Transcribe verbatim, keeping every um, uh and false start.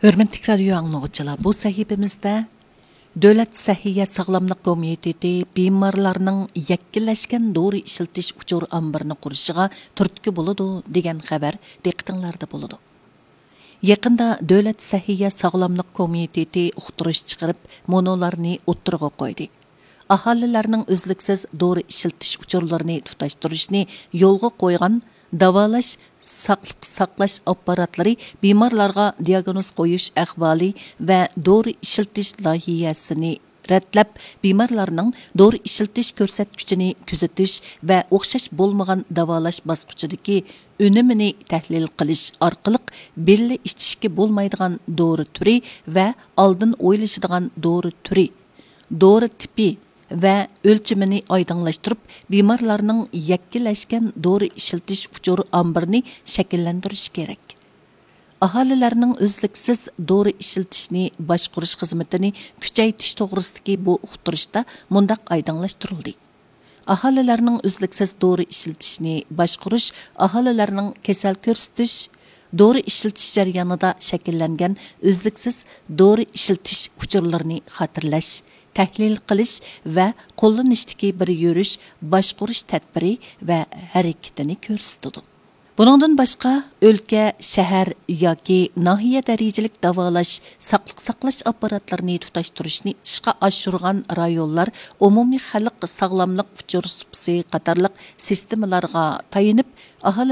ھۆرمەتلىك رادىيو ئاڭلىغۇچىلار، بۇ سەھىپىمىزدە دۆلەت سەھىيە ساغلاملىق كومىتېتى بىمارلارنىڭ يەككىلەشكەن دورا ئىشلىتىش ئۇچۇر ئامبىرىنى قۇرۇشىغا تۈرتكە بولىدۇ دېگەن خەۋەر دىققىتىڭلاردا بولىدۇ. يېقىندا دۆلەت سەھىيە ساغلاملىق كومىتېتى ئۇقتۇرۇش چىقىرىپ، مۇنۇلارنى ئوتتۇرىغا قويدى. ئاھالىلەرنىڭ ئۈزلۈكسىز دورا ئىشلىتىش ئۇچۇرلىرىنى تۇتاشتۇرۇشنى يولغا قويغان داۋالاش، ساقلىق ساقلاش ئاپپاراتلىرى بىمارلارغا دىئاگنوز قويۇش ئەھۋالى ۋە دورا ئىشلىتىش لايىھەسىنى رەتلەپ، بىمارلارنىڭ دورا ئىشلىتىش كۆرسەتكۈچىنى كۆزىتىش ۋە ئوخشاش بولمىغان داۋالاش باسقۇچىدىكى ئۈنۈمىنى تەھلىل قىلىش ئارقىلىق، بىللە ئىچىشكە بولمايدىغان دورا تۈرى ۋە ئالدىن ئويلىشىدىغان دورا تۈرى، دورا تىپى ۋە ئۆلچىمىنى ئايدىڭلاشتۇرۇپ، بىمارلارنىڭ يەككىلەشكەن دورا ئىشلىتىش ئۇچۇر ئامبىرىنى شەكىللەندۈرۈش كېرەك. ئاھالىلەرنىڭ ئۈزلۈكسىز دورا ئىشلىتىشنى باشقۇرۇش خىزمىتىنى كۈچەيتىش توغرىسىدىكى بۇ ئۇقتۇرۇشتا مۇنداق ئايدىڭلاشتۇرۇلدى: ئاھالىلەرنىڭ ئۈزلۈكسىز دورا ئىشلىتىشنى باشقۇرۇش ئاھالىلەرنىڭ كېسەل كۆرسىتىش، دورا ئىشلىتىش جەريانىدا شەكىللەنگەن ئۈزلۈكسىز دورا ئىشلىتىش ئۇچۇرلىرىنى خاتىرىلەش، تەھلىل قىلىش ۋە قوللىنىشتىكى بىر يۈرۈش باشقۇرۇش تەدبىرى ۋە ھەرىكىتىنى كۆرسىتىدۇ. بۇنىڭدىن باشقا، ئۆلكە، شەھەر ياكى ناھىيە دەرىجىلىك داۋالاش، ساقلىق ساقلاش ئاپپاراتلىرىنى تۇتاشتۇرۇشنى ئىشقا ئاشۇرغان رايونلار ئومۇمىي خەلق ساغلاملىق ئۇچۇر سۇپىسى قاتارلىق سىستېمىلارغا تايىنىپ، ئاھالىلەر